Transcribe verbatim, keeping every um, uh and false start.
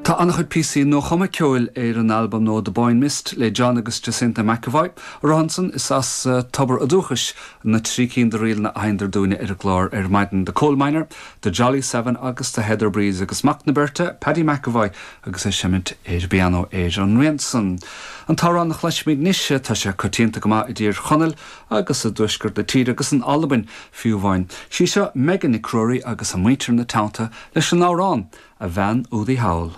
Tá an-chuid píosaí nuachumtha ceoil ar an albam nua The Boyne Mist le John agus Jacinta McAvoy. Rohanson is as uh, tobar a dúchais na trí cinn de ríleanna a sheinneadar dúinne ar an gclár ar maidin The Coal Miner, The Jolly Seven agus The Heather Breeze agus mac na beirte Paddy McAvoy agus é ag seimint ar pianó ar an rian san. An t-amhrán a chloisfimid anois tá sé coitianta go maith i dTír Chonaill agus i dtuaisceart na tíre agus in Albain fiú amháin. Sí seo Megan Nic Ruairí agus a muintir ina teannta leis an amhrán a bhean údaí thall.